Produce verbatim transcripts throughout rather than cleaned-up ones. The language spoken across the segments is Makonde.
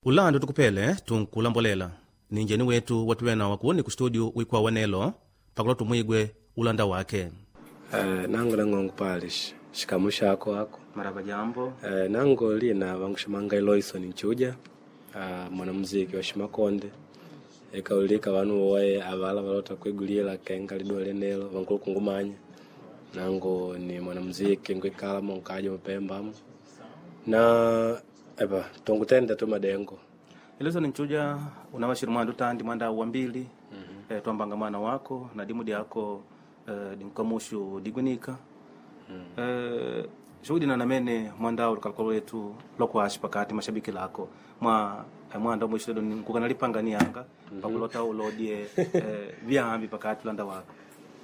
Ulando tukupele tunkulambolela ni njeni wetu watuwena wakuoni ku studio wikwa wanelo pakula tumwigwe ulanda wake. Uh, nango nangongo pali shikamu shako ako Maraba jambo. uh, nango lina vangushimanga Eloison Nchuja, uh, mwanamuziki wa shimakonde ekaulika vanu woye avala valota kwigulila kenga liduwa lenelo vankulu kungumanya. Nango ni mwanamuziki nkwikala monkaja mupembamo na epa tongutenda tu madengo. Eloison Nchuja unawashiri mwandu tandi mwanda wa mbili. mm -hmm. E, twambanga mwana wako na dimu dyako e, dinkamushu digwinika. mm. E, shughuli na namene mwanda lukalukalo lwetu lokwashi pakati mashabiki lako mwa eh, mwanda mwisho nkukanalipanga niyanga. mm -hmm. Pakulota ulodie eh, vyambi pakati ulanda wako.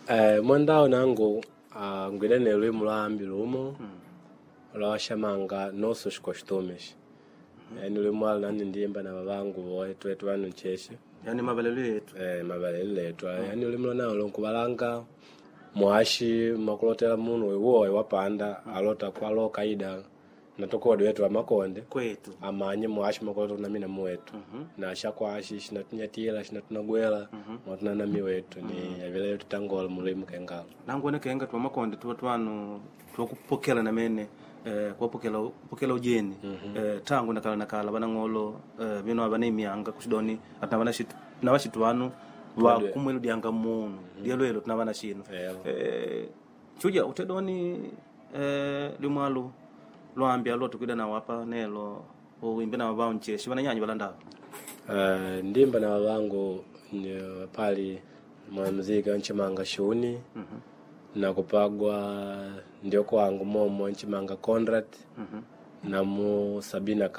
Eh, mwandao nangu uh, ngwidane lwimu lwa ambi lumo mm. lwawashamanga noso xikoxitumex. mm -hmm. Yani lwimu alo nani ndimba na vavangu voye twetu vanu ncheshe yani mavalelo yetu. Eh, mavalelo letu. mm. Yani lwimu lwanao lonkuvalanga mwashi makulotela munu iwoye wapanda alota kwalo kaida natokodi wetu wa makonde kwetu amanye mwashi makulota kunamina muwetu. mm -hmm. Na shakwashi xinatunyatila xinatunagwela. mm -hmm. Mwatunanami wetu ni mm -hmm. Avila yetu tangola mulimu kengalo nangu kenga twa makonde tuwa twanu twakupokela namene eh, kuwapokela kupokela ujeni. mm -hmm. Eh, tangu nakala nakala vanang'olo eh, vino avana imyanga kuxidoni atina vana xitu na vaxitu vanu va kumwelu dyanga munu. mm -hmm. Dyelwelo tina vana xino. Eh, chuja utedoni eh, limwalu lwambi alo tukwida nawo apa nelo uimbe na vavao ncheshi vananyanyi valandava. Uh, ndimba na vavangu pali mwanamuziki wanchimanga Shuni. mm -hmm. Na kupagwa ndio kwangu momo nchimanga Conrad. mm -hmm. Na mu Sabina.